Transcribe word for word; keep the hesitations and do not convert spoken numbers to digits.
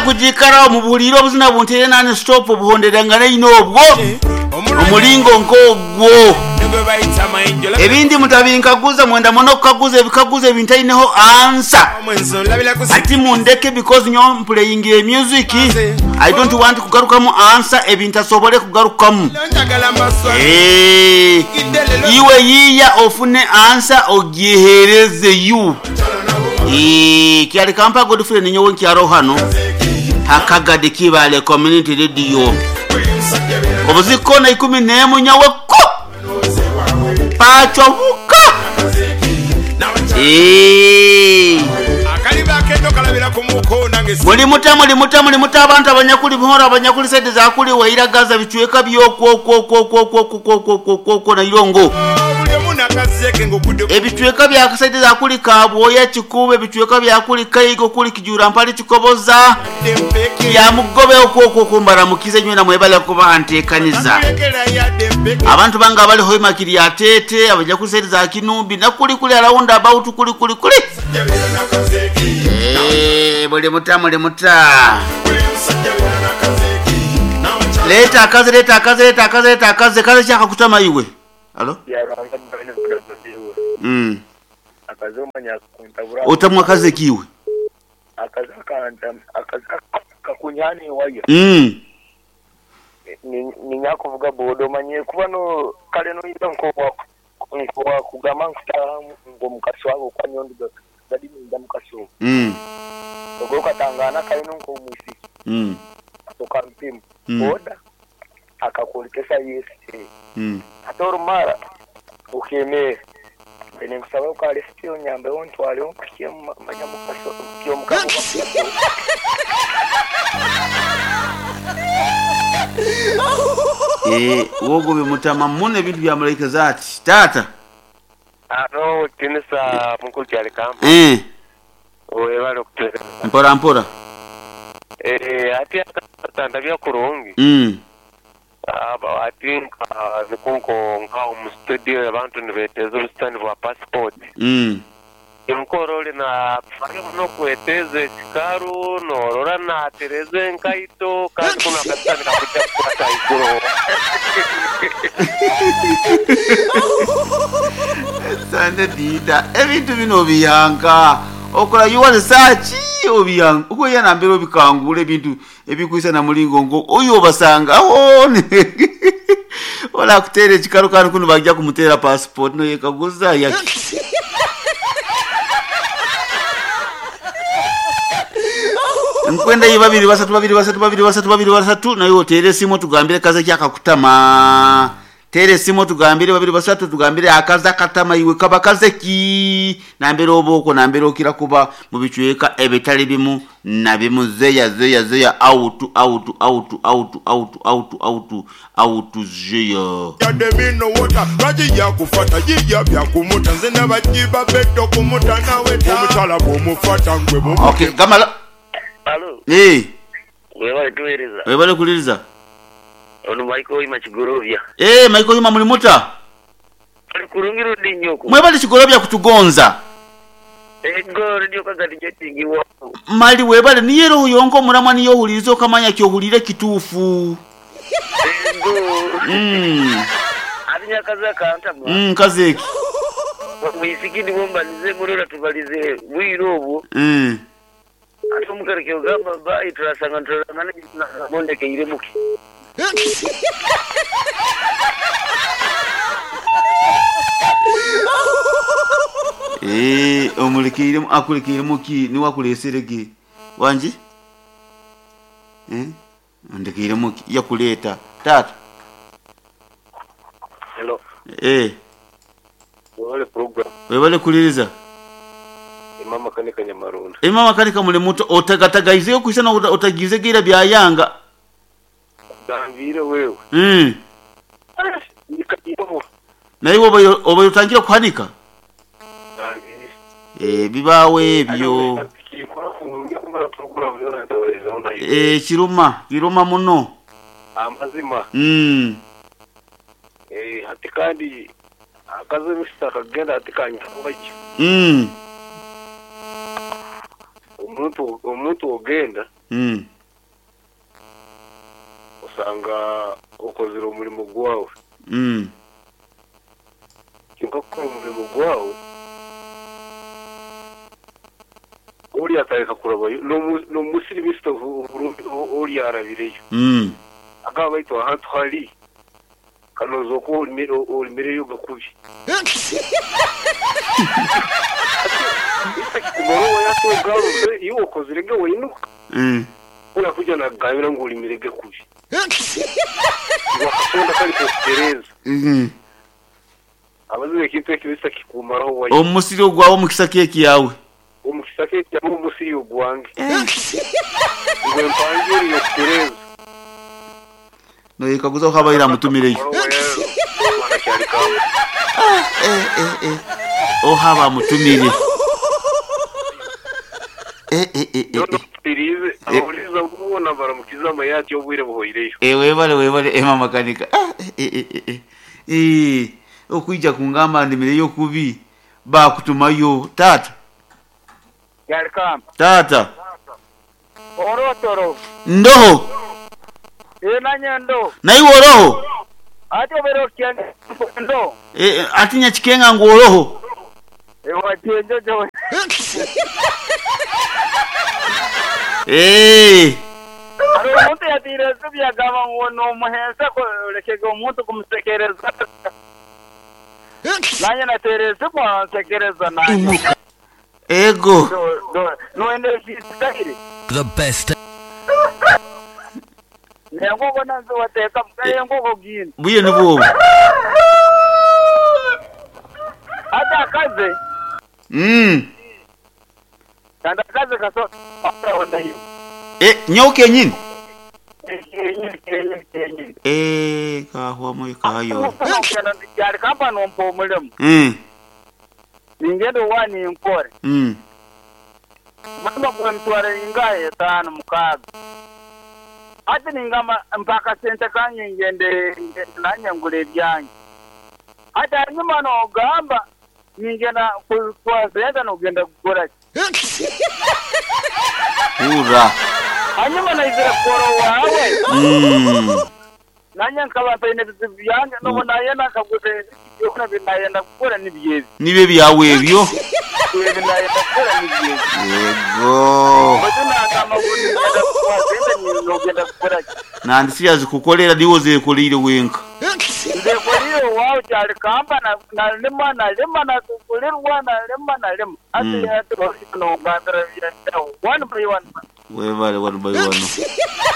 Kujikara omubuulire obuzina buntere nani stop obuhonderangana ino obwo omulingo nk'ogwo. Ebindi mutabinkaguza, mwenda muno kukaguza ebikaguzo ebintaineho answer. Ati mundeke, because nyo playing a music, I don't want kugarukamu answer ebintasobole kugarukamu. Eh, iwe yiya ofune answer ogihereze you. Eh, kyali kampa Godfrey ninyowe nkyaro hano hakagadi Kibale Community Radio obuziko na ikumi n'emu nyawe ko pachobuka. Eh, muli muta muli muta muli muta abantu abanyakuli bihora, abanyakuli sente zakuli waira Gaza bichweka byokwo na irongo ebicweka bya sente zakuli kabwoya kikube, ebicweka byakuli kaigo kuli kijura mpali kikoboza ya mugobe okwo mbaramukize nywe na mwebale kuba ntekaniza abantu banga abali hoima kiri atete abaja kuli sente za kinumbi na kuli kuli around about kuli kuli kuli. Eh, buli muta muli muta leta akaze leta akaze leta akaze leta akaze kaze chaka kutama iwe. Alo? Mm. Otamwa akaze kiwe. Akaze akanta akaze kakunyani waya. Mm. Ni nyakuvuga bodo manye kuba no kale no ida nko nko kugama ngo mukaswago kwa nyondo gadi minda mukaso. Mm. Ogo katangana kale no nko mwisi. Mm. Atoka mpimu. Mm. Boda akakulikesa yesi. Mm. Atoro mara ukemere. Ene kusaba ukale sitio nyambe ontwale onkukie manya mukaso kyo mukaso. Eh, wogo bimutama mune ebintu bya malaika zati. Tata. Ano tinisa mukulu kyali kampa. Eh. Webale okutera. Mpora mpora. Eh, ati akatanda bya kurungi. Mm. Aba ati nka nikunko nka mu studio abantu nibeteza obusitani bwa passport. Mm. Enkorole na no kweteze chikaru norora na tereze nkaito kandi kuna katani kakuja kupata iguro. Sande dida ebintu bino biyanka okola you want search obiyanka uko yana mbero bikangule ebintu ebikuisa na mulingo ngo oyo basanga aho ola kutere chikaru kandi kuno bajja kumutera passport no yekaguza ya nkwenda yi babiri basatu babiri basatu babiri basatu babiri basatu nayo tere simu tugambire kaze kyakakutama tere simu tugambire babiri basatu tugambire akaza katama iwe kaba kaze ki nambere oboko nambere okira kuba mu bicweka ebitali bimu na bimu zeya zeya zeya out out out out out out out out zeya yademino wota raji yakufata yiya byakumuta nze nabajiba beto kumuta nawe omukyala bw'omufata ngwe bwo. Okay, gamala. Alo. Eh. Webale tuwereza. Webale kuliriza. Ono Michael Yuma Kigorovya. Eh, Michael Yuma muli muta. Ali kurungiru dinyoko. Mwebale Kigorovya kutugonza. Ego radio kagati jetingiwa. Mali webale niye roho yonko muramwa niyo hulirizo kamanya kyohulire kitufu. Ego. Mm. Alinya kaza kanta mwa. Mm, kazeki. Mwisikini bombalize murora tubalize bwiro obwo. Mm. Atomukareke ogamba bayi turasanga nturangana mondeke iremuke. Eh, omulikire akulikire muki ni wakuleserege wanji eh ndikire muki yakuleta tata. Hello. Eh, wale program webale kuliriza imama kanika nyamarunda imama kanika muli muto otagatagaize okuisana otagize gira bya yanga gambire wewe mm nikayibo naye oba oba utangira kuhanika eh bibawe ebyo eh kiruma kiruma muno amazima mm eh ati kandi akaze misaka kagenda atikanya baki mm omuntu omuntu ogenda mm Osanga okozere omulimo gwawe. Mm. Kyonka kukora omulimo gwawe oli atareka kurabayo n'omusiri misita oli arabireyo. Mm. Agaba baitu ahantu hari kanoza oku olimireyo gakubi. Kumaro yato iyo okozere weinuka. Mm. Ura kuja nagambira ngu olimirege kubi. Wakasonda kali kutereza. Mm. Abazibe kintu ekibisa kikumaraho wayi. Omusiri ogwawo mukisa keki yawe. Omukisa keki yawe omusiri ogwange. Ngwe mpangiri yokutereza. No yekaguza habaira mutumireyo. Ah, eh eh eh. Oh haba mutumire. Eh eh eh eh. Pirize aburiza kubona baramukiza amayati obwire buhoireyo. Eh webale webale eh mama kanika. Ah eh eh eh. Eh okuija kungamba ndimireyo kubi bakutumayo tata. Yarkam. Tata. Orotoro. Ndoho. Eh nanyendo. Na iwe oroho. Ati obero kyanga ndo. Eh atinya chikenga ngo oroho. Eh watenjo jo. Eh. Ari omuntu yatire byagaba ngo no muhensa ko lekege omuntu kumusekereza. Nanye natereze ko sekereza nanye. Ego. No ende fisitire. The best. Nengogo nanzo wateka mkaye ngogo gini. Buye nibo. Ata kaze. Mm. Kanda kaze kaso onda hiyo. Eh nyoke nyini. Eh kahwa moyo kayo. Yari kamba nompo mulemu. Mm. Ningendo wani nkore. Mm. Mama kwa mtware ingaye tano mukaga. Ati ningama mpaka sente kanye ngende nanye ngule byange. Ati hanyuma no gamba ningenda kwa sente no genda kugora. Ura. Hanyuma naizira koro wawe. Mm. Nanye nkaba mpaine bizibu byange no nayenda kaguze yokuna binayenda kugora nibyezi. Nibe byawe ebyo. Binayenda kugora nibyezi. Yego. Batuna kama gunda kwa sente nogenda kugora. Nandi siyazi kukolera diwo zekolire wenka. Zekolire wawe cyari kamba na na lima na lima na kulirwa na lima na lima. Ati ati no gandra ya one by one. Webale one by one.